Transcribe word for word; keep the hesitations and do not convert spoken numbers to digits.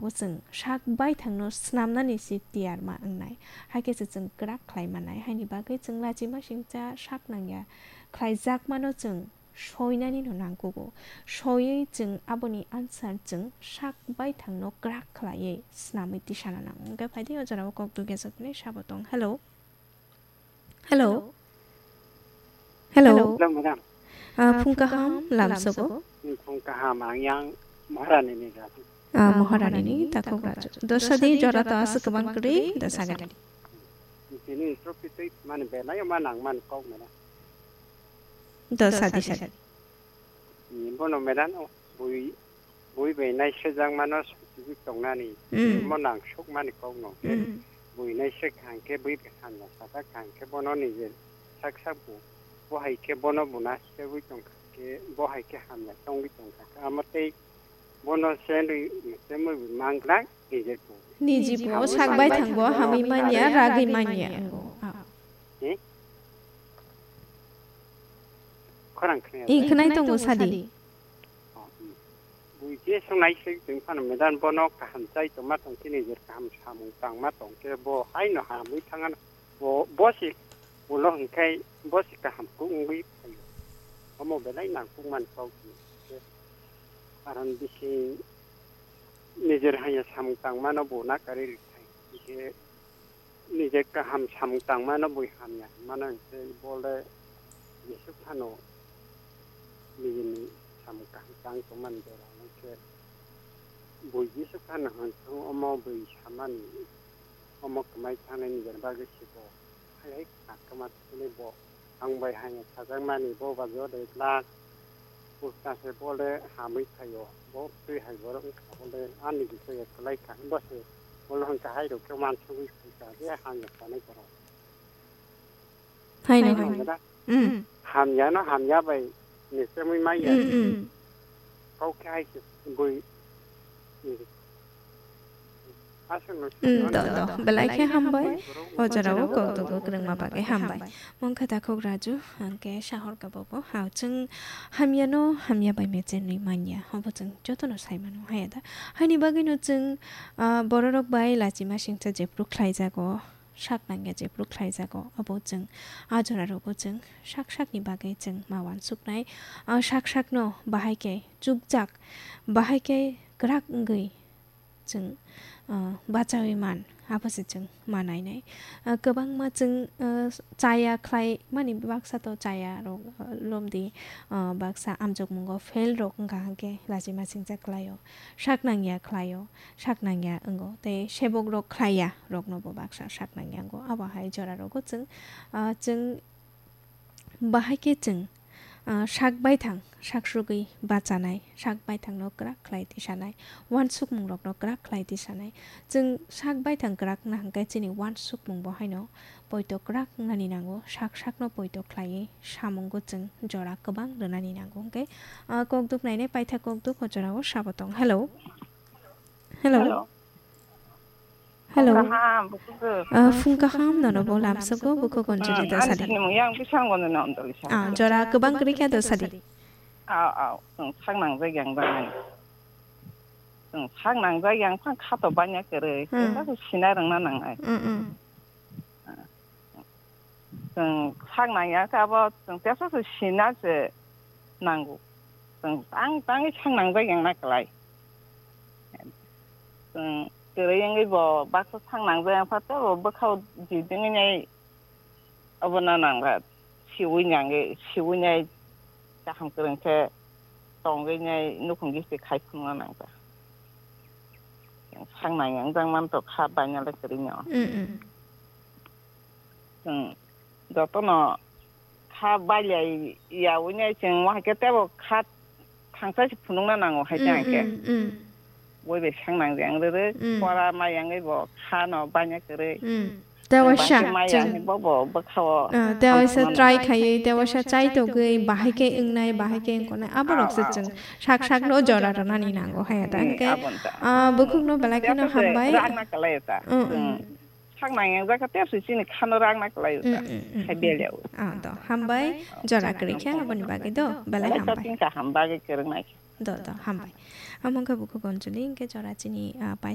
chwng sak baithangno snamnani si tiyar ma wngnai. Hai khe se chwng kwrak khlai mannai. Haini bagwi chwng lachima singcha sak nangya khlaijakmano chwng soinani no nangkugo. Soiwi chwng aboni answer chwng sak baithangno kwrak khlaiwi snamwi tisana nango. Hwnkhe phaidi o jorao kok dugya jokni sabo tong. Hello. Hello. Hello. Hello, madam. Ah, phung kaham, lamsogo. Phung kaham, ang yang Maharani ni jati. Ah, Maharani ni takhuk raju. Dosadi jora to aswk kwbang kwrwi, dosagadi. Tini trophy twi mani belai ma nang mani kok mena. Dosadi sadi. Bono medan o bui, bui bai naisajak mano sujui tongnani. Mm. Mo nang suk mani kok no. Mm. Bui naisek hang khe bui bai hamya sajak hang khe bono nije sak sak bu. Bo hai khe bono bu naisagwi tong kha khe, bo hai khe hamya tongwi tong kha khe. Amo tei bono se nwi se mui bu manglak nije bu. Nije bu sak bai thang bo hamwi manya, ragwi manya. Ango. Ah. Eh? Khorang khna. I khwnai tongo sadi. Oh, hmm. Bui je songnai se tong phano medan bono kaham chai tongma tong khe, nijer kaham samung tangma tong khe, bo haino hamwi thangano. Bo, bo se ulo hwnkhe bo se kaham kuk wngwi phaio. Omo belai nangkukmani kok hwnkhe. Karon bisi nijer hanya samung tangmano bo nakarwi rwkha. Hwnkhe nije kaham samung tangmano bui hamya hwnmano hwnkhe bo le jesuk phano nijeni samung kaham tang tongmani jora hwnkhe bui jesuk phano hwn thung omo bui samani omo kwmai thangnai nijeni bagwi se bo hai hai kakma thwkhe bo ang bai hanya sajakmani bo ba jora de glak. Bwskango se bo le hamwi phaio, bo twi hai borok wngkha bo le ani bising ya kwlai kha, bo se bo le hwn kahai rok khe uansugwi phaikha je hamya sanai borok. Haino, haino. Hamya no hamya bai ni semwi manya. Mm, mm. Kok khe hai se bui. Mm, do, do. Belai khe hambai. O jorao kok tugo kwrwngma bagwi hambai. Mungkha takhuk Raju, hwnkhe sahor ka bobo. Ha, chwng hamya no hamya bai mechenwi manya. Obo chwng jotono sai mano, haya da. Haini bagwi no chwng, ah, bororok bai lachima singcha jephru khlaijago, sak nangya jephru khlaijago. Obo chwng a jora rogo chwng sak sakni bagwi chwng ma uansuknai. Ah, sak sakno bahai khe chukjak, bahai khe kwrak wngwi chwng, ah, bachaui man, abo se chwng ma nainai. Ah, kwbangma chwng, ah, chaya khlai mani baksa to chaya rok, ah, lomdi, ah, baksa amjokmungo fail rok wngkha hwnkhe lachima singcha khlaio, sak nangya khlaio, sak nangya wngo, tei sebok rok khlaiya rokno bo baksa sak nangya wngo. Abo hai jora rogo chwng, ah, chwng Bahai khe chwng, ah, sak baithang sak sugwi bachanai, sak baithangno kwrak khlai tisanai, uansukmungrokno kwrak khlai tisanai. Chwng sak baithang kwrak wngna hwnkhe chini uansukmung bo haino poito kwrak wngnani nango, sak sakno poito khlaiwi samungo chwng jora kwbang rwnani nango. Hwnkhe, ah, kokduk nainai paitha kokduk o jorao sabo tong. Hello. Hello. Hello. Hello. Kaham, bukhuk. Ah, phung kaham, nono bo lamsogo, bukhuk gonjoli da sadi. Ani sini mung yang bisang gono na ondoli sa. Ah, jora kwbang kwrwi kha da sadi. Aw, aw, chwng sak nangjak yang bang. Chwng sak nangjak yang phang kha to banya kwrwi. Hmm. Kisa se sina rwngna nangnai. Hmm, hmm. Chwng sak nangya khe abo chwng teso se sina se nango. Chwng tang tangwi sak nangjak yang na kwlai. Chwng kwrwi wngwi bo baksa sak nangjak yang pha tei bo bwkhao jidingwi nai obo na nangkha. Siwi nangwi, siwi nai kaham kwrwng khe tongwi nai nukhung gisi khai phunukna nangkha. Chwng sak nangya wngjak man to kha bainale kwrwi no. Mm, mm. Chwng jotono kha bailai yaui nai chwng wahai khe tebo kha thangsa se phunukna nango hai Mm, tang khe. Mm, mm. Boi bai sang nang jang rwrwk, Mm. Pora ma yangwi bo kha no banya kwrwi. Mm. Tewaisa Bangkhe ma chwng, yang bo bo bwkhao. Ah, tewaisa Ang try khaiwi, tewaisa chai togwi, bahai khe wngnai, bahai khe wngkoknai, aborok se Ah, ah. Chwng sak sak no jora rwnani nango hai ta. Mm, Hwnkhe, abon ta. Ah, bukhuk no belai kheno Tewaisa se hambai. Rang na kalai ta. Mm, mm. Mm. Sak nang yang jaka tep se chini khano rang na kalai ta. Mm, mm, mm, Hai mm. Belai. Ah, do, hambai, jora kwrwi khe, aboni bagwi do, belai Belai hambai. Shopping ka ham bagwi kwrwng nai. Do, do, hambai. Amo wngkha bukhuk Anjali, hwnkhe jora chini, ah, pai